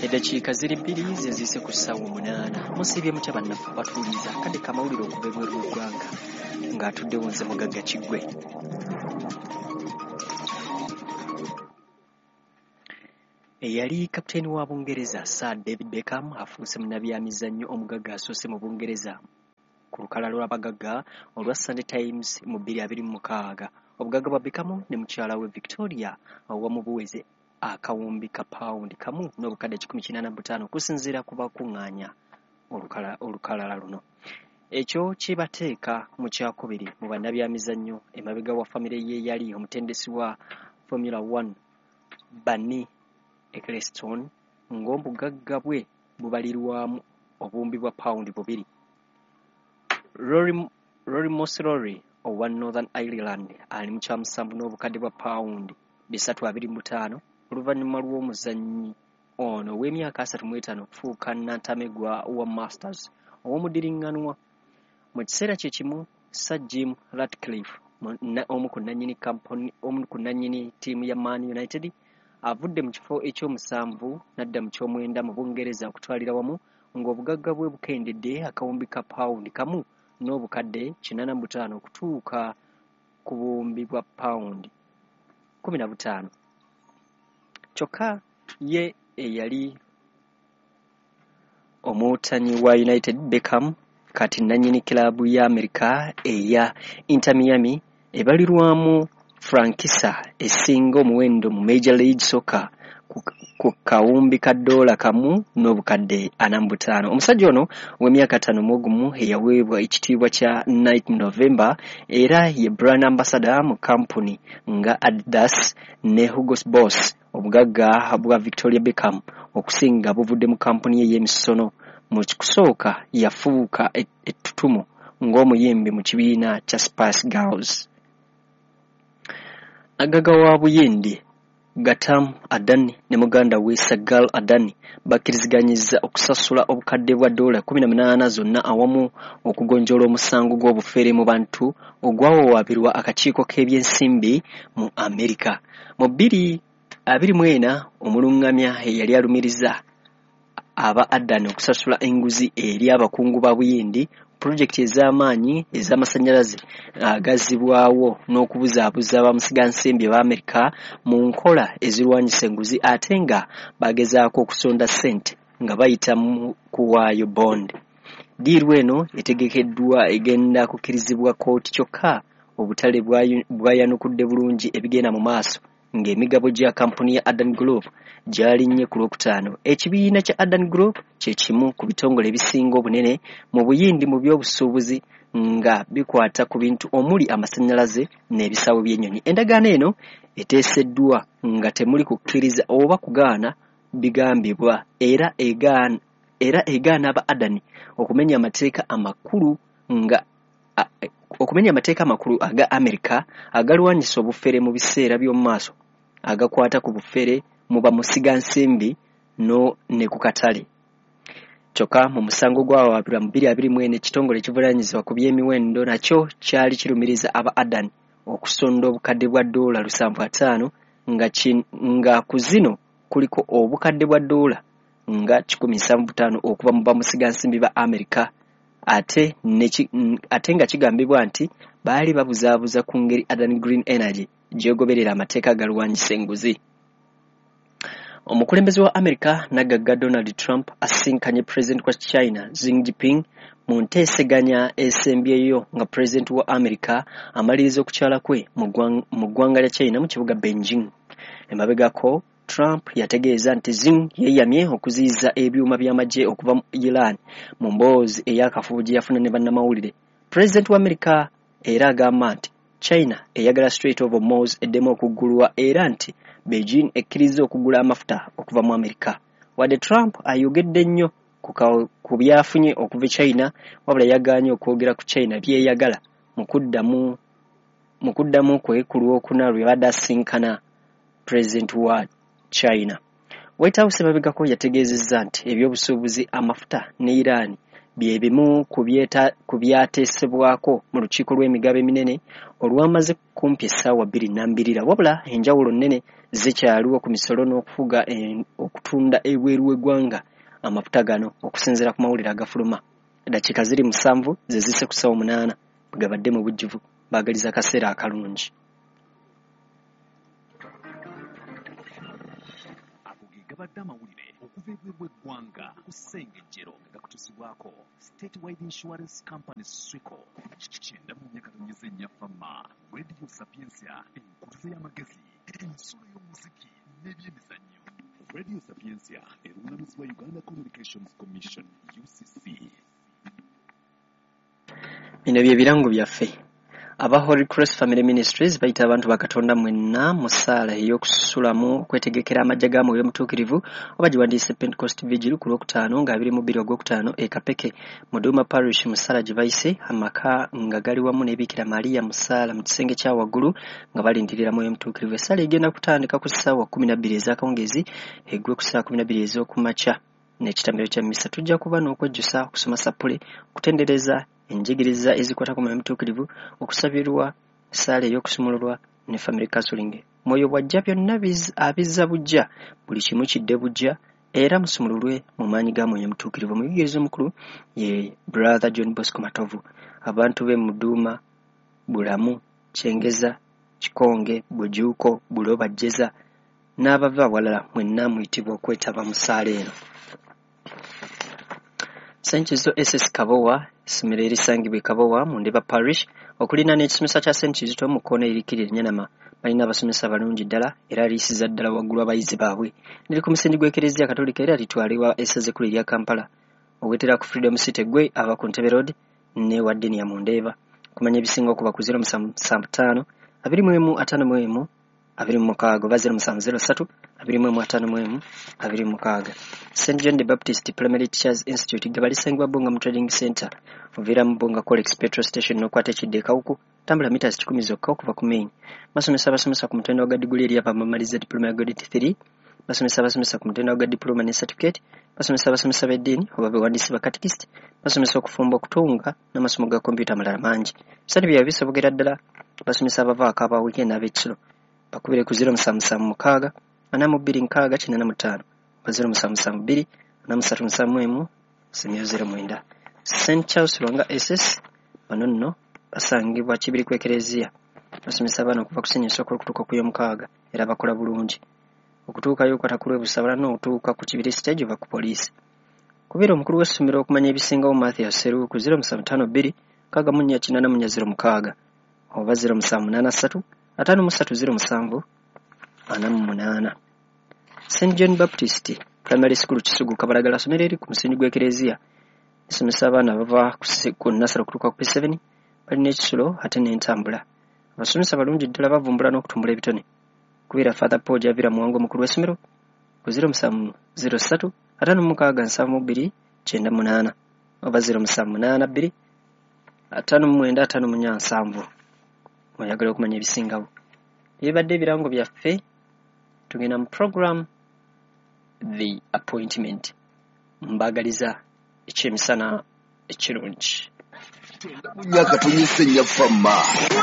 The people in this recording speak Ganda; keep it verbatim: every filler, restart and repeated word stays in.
Eddakiika ziri bbiri ze ziyise ku ssaawa omunaana. Musiibye mutya bannaffe abatuwuliriza? Kadde kamawulire okuva ebweru w'eggwanga ng'atuddewo nze Mugagga Kiggwe. Eyali kapiteeni wa Bungereza Sir David Beckham afuuse munnabyamizannyo omugagga asoose mu Bungereza ku lukalala lw'abagagga olwa Sunday Times mu bbiri abiri mu mukaaga. Obugagga bwa Beckham ne mukyala we Victoria awamu buweze akawumbi ka pawundi kamu n'obukadde kikumi kinaana mu butaano okusinziira ku bakuŋŋaanya olukalala luno. Ekyo kibateeka mu kyakubiri mu bannabyamizannyo emabega wa famire ye yali omutendesi wa Formula One Bernie Ecclestone ng'obugagga bwe bubalirwamu obuwumbi bwa pawundi bubiri. Rory, Rory McIlroy owa Northern Ireland ali mu kyamusanvu n'obukadde bwa pawundi bisatu abiri mu butaano oluvannyuma lw'omuzannyi ono ow'emyaka asatu mu etaano okufuuka nnantamegwa wa Masters ow'omudiriŋŋanwa. Mu kiseera kye kimu Sir Jim Ratcliffe omu ku nnannyini kampuni omu ku nnannyini ttiimu ya Man United avudde mu kifo ekyomusanvu n'adda mu kyomwenda mu Bungereza okutwalira wamu ng'obugagga bwe bukendedde akawumbi ka pawundi kamu n'obukadde kinaana mu butaano okutuuka ku buwumbi bwa pawundi kkumi na butaano. Kyokka ye eyali omuwutanyi wa United Beckham kati nnannyini kiraabu ya Amerika eya Inter Miami ebalirwamu Frankisa esinga omuwendo mu Major League Soccer ku kawumbi ka ddoola kamu n'obukadde ana mu butaano. Omusajja ono ow'emyaka ataano mu ogumu eyaweebwa ekitiibwa kya Knight November era ye brand ambassador mu kampuni nga Adidas ne Hugo Boss. Obugagga bwa Victoria Beckham okusinga buvudde mu kampuni ye ey'emisono. Mu kusooka yafuuka ettutumu ng'omuyimbi mu kibiina kya Spice Girls. Nagagga wa Buyindi Gautam Adani ne muganda we Sagal Adani bakkiriziganyizza okusasula obukadde bwa ddoola kkumi na munaana zonna awamu okugonjoola omusango gw'obufere mu bantu ogwawawaabirwa akakiiko k'ebyensimbi mu Amerika. Mu bbiri abiri mu ena omulungamya eyali alumiriza aba Adani okusasula enguzi eri abakungu ba Buyindi pulojekiti ez'amaanyi ez'amasannyalaze agazzibwawo n'okubuzaabuza bamusigansimbi ba Amerika mu nkola ezirwanyisa enguzi ate nga bagezaako okusonda ssente nga bayita mu kuwaayo bond. Ddiiru eno etegekeddwa egenda kukkirizibwa kkooti kyokka obutale bwayanukudde bulungi ebigenda mu maaso ng'emigabo gya kampuni ya Adani Group gyalinnye ku Lwokutaano. Ekibiina kya Adani Group kye kimu ku bitongole ebisinga obunene mu Buyindi mu by'obusuubuzi nga bikwata ku bintu omuli amasannyalaze n'ebisaawe by'ennyonyi. Endagaano eno eteeseddwa nga temuli kukkiriza oba kugaana bigambibwa era egaana era egaana aba Adani okumenya amateeka amakulu nga okumenya amateeka amakulu aga Amerika agalwanyisa obufere mu biseera by'omu maaso agakwata ku bufere mu bamusigansimbi no ne ku katale. Kyokka mu musango gwawaabirwa mu bbiri abiri mu ena ekitongole ekivunaanyizibwa ku by'emiwendo nakyo kyali kirumiriza aba Adani okusonda obukadde bwa ddoola lusanvu ataano nga, nga ku zino kuliko obukadde bwa ddoola nga kikumi nsanvu butaano okuva mu bamusigansimbi ba Amerika ate, ate nga kigambibwa nti baali babuzaabuza ku ngeri Adani Green Energy gy'egoberera amateeka agalwanyisa enguzi. Omukulembeze wa Amerika nagagga Donald Trump asisinkanye Pulezidenti wa China Xi Jinping mu nteeseganya esembyeyo nga Pulezidenti wa Amerika amaliriza okukyala kwe mu ggwanga lya China mu kibuga Beijing. Emabegako Trump yategeeza nti Xi yeeyamye okuziyiza ebyuma by'amagye okuva mu Iran mu mboozi ey'akafubo gye yafuna ne bannamawulire. Pulezidenti wa Amerika era agamba nti China eyagala Strait of Hormuz eddemu okuggulwa era nti Beijing ekkiriza okugula amafuta okuva mu Amerika. Wadde Trump ayogedde nnyo ku byafunye okuva e China, wabula yagaanye okwogera ku China by'eyagala mu kuddamu mu kuddamu kwe ku Lwokuna lwe badde asisinkana Pulezidenti wa China. White House emabegako yategeezezza nti ebyobusuubuzi amafuta ne Iran Bye bimu ku byateesebwako mu lukiiko lw'emigabo eminene olwamaze kumpi essaawa bbiri nnambirira, wabula enjawulo nnene zikyaliwo ku misolo n'okufuga okutunda ebweru w'eggwanga amafuta gano okusinziira ku mawulire agafuluma. Eddakiika ziri musanvu ze zisse ku ssaawa munaana bwe gabadde mu bujjuvu. Baagaliza akaseera akalungi. Ago ge gabadde amawulire okuva ebweru w'eggwanga ku Ssengejjero nga gakutuusibwako Statewide Insurance Company SWICO. Kyenda mu nnya katonnyeze nnya Fama, Radio Sapientia, enkutuzo y'amagezi, ensulo y'omuziki n'ebyemizannyo. Radio Sapientia erungamizibwa Uganda Communications Commission U C C. Bino bye birango byaffe. Aba Holy Cross Family Ministries bayita abantu ba Katonda mwenna mu ssaala ey'okusulamu okwetegekera amajja ga Mwoyo Mutuukirivu oba giwandiise Pentecost Vigil ku Lwokutaano nga abiri mu bbiri Ogwokutaano e Kapeke mu Duma Parish mu ssaala gye bayise amaka nga gali wamu ne Bikira Maria mu ssaala mu kisenge kya waggulu nga balindirira Mwoyo Mutuukirivu. Essaala egenda kutandika ku ssaawa kkumi na bbiri ez'akawungeezi eggwe ku ssaawa kkumi na bbiri ez'okumakya n'ekitambiro kya mmisa. Tujja kuba n'okwejjusa, okusoma sappule, okutendereza enjigiriza ezikwata ku Mwoyo Mutuukirivu, okusabirwa ssaala ey'okusumululwa ne family counseling. Mwoyo bw'ajja byonna abizza buggya, buli kimu kidde buggya era musumululwe mu maanyi ga Mwoyo Mutuukirivu. Omuyigiriza omukulu ye Brother John Bosco Matovu. Abantu b'e Muduuma, Bulamu, Kyengeza, Kikonge, Bujuuko, Buloba, Jjeza n'abava awalala mwenna muyitibwa okwetaba mu ssaala eno. Saint Kizito S S Kabowa, essomero erisangibwa e Kabowa mu Ndeba Parish, okuliraana ekisomesa kya Saint Kizito mu kkoona erikira e Nyanama. Balina abasomesa balungi ddala era liyisiza ddala waggulu abayizi baabwe. Liri ku musingi gw'Ekereziya Katolika era litwalibwa essaza ekkulu erya Kampala. Owetera ku Freedom City gwe ava ku Ntebe Road ne wa Ddiini ya mu Ndeeba. Okumanya ebisinga okuba ku zero musanvu musanvu ttaano abiri mu emu ataano mu emu abiri mu mukaaga oba zero musanvu zero ssatu abiri mu emu ataano mu emu abiri mu mukaaga. Saint John the Baptist Primary Teachers Institute gye balisangibwa Bbunga mu Trading Center. Oviira mu Bbunga Colex Petrol Station n'okwata ekidda e Kawuku, tambula mita kikumi zokka okuva ku main. Basomesa abasomesa ku mutendera gwa diguli eri abamamaliza diploma ya grade three, basomesa abasomesa ku mutendera gwa diploma ne certificate, basomesa abasomesa b'eddiini oba bewandiisi ba catechist, basomesa okufumba, okutunga n'amasomo ga kompyuta amalala mangi. Ebisale byabwe bisobokera ddala. Basomesa abavaako aba weekend n'ab'ekiro. Bakubire ku zero musanvu musanvu mukaaga ana mu bbiri nkaaga kinaana mu ttaano oba zero musanvu musanvu bbiri ana mu ssatu musanvu emu semyo zero mwenda. Saint Charles Lwanga S S bano nno basangibwa Kibiri ku Ekereziya. Basomesa abaana okuva ku siniya esooka okutuuka ku y'omukaaga era bakola bulungi. Okutuukayo okwata ku lw'e Busabala n'okutuuka ku Kibiri stage oba ku poliisi. Kubira omukulu w'essomero okumanya ebisingawo Mathias Sseruwu ku zero musanvu ttaano bbiri nkaaga mu nnya kinaana mu nnya zero mukaaga oba zero musanvu munaana ssatu ataano mu ssatu zero musanvu ana mu munaana. Saint John Baptist Primary School Kisugu Kabalagala ssomero eri ku musingi gw'Ekereziya. Esomesa abaana bava ku nnasale okutuuka ku P seven, balina ekisulo ate n'entambula. Abasomesa balungi ddala bavumbula n'okutumbula ebitone. Kubira Father Paul Javira Muwango omukulu w'essomero ku zero musanvu zero ssatu ataano mu mukaaga nsanvu mu bbiri kyenda munaana oba zero musanvu munaana bbiri ataano mu mwenda ataano mu nnya nsanvu. Oyagala okumanya ebisingawo. Ebibadde ebirango byaffe, tugenda mu program The Appointment. Mbaagaliza ekyemisana ekirungi. Myaka tonyese nnya fama.